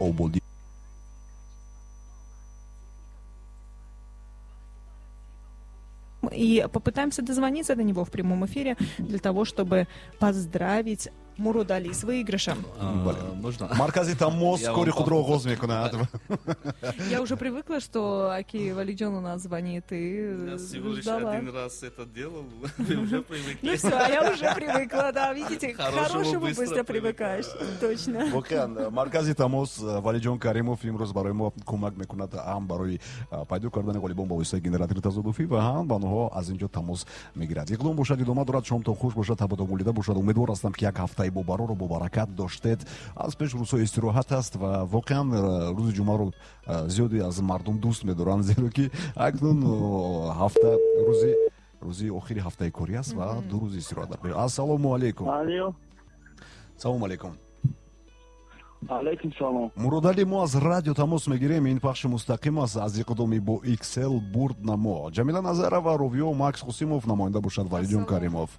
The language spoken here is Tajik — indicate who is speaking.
Speaker 1: Ободӣ.
Speaker 2: И попытаемся дозвониться до него в прямом эфире для того, чтобы поздравить Муродали с выигрышем.
Speaker 3: Можно?
Speaker 1: Маркази тамос кори худро оғоз мекунад.
Speaker 4: Я уже привыкла, что аки Валиджон у нас звонит, и
Speaker 3: Я всего лишь
Speaker 4: ждала.
Speaker 3: Один раз это делал, вы уже привыкли.
Speaker 2: Ну все, а я уже привыкла, да, видите, к
Speaker 3: Хорошему
Speaker 2: хорошему
Speaker 3: быстро
Speaker 2: быстро привыкаешь, точно.
Speaker 1: Воқеан, маркази тамос Валиҷон Каримов имрӯз барои мо кӯмак мекунад, ҳам барои пайдо кардани ғолибон ба воситаи генератори тазодуфӣ ва ҳам ба онҳо аз ин ҷо тамос мегирад. Иқдом бошад, идома дорад. Шомтон хуш бошад, табатон молида бошад. Умедвор ҳастам, ки як ҳафтаи бобарору бобаракат доштед. Аз пеш рӯзҳои истироҳат аст ва воқеан рӯзи ҷумъаро зиёде аз мардум дӯст медоранд, зеро ки акнун ҳафта рӯзи охири ҳафтаи корӣ аст ва 2 рӯзи истироҳат дар пеш. Ассалому алайкум.
Speaker 5: Алло.
Speaker 1: Салому алайкум.
Speaker 5: Алайкум салом.
Speaker 1: Муродалӣ, мо аз радио тамос мегирем. Ин пахши мустақим аст аз иқдоми бо XL бурд намо. Ҷамила Назарова, ровиё Макс Қосимов, намоянда бошад Валиҷон Каримов.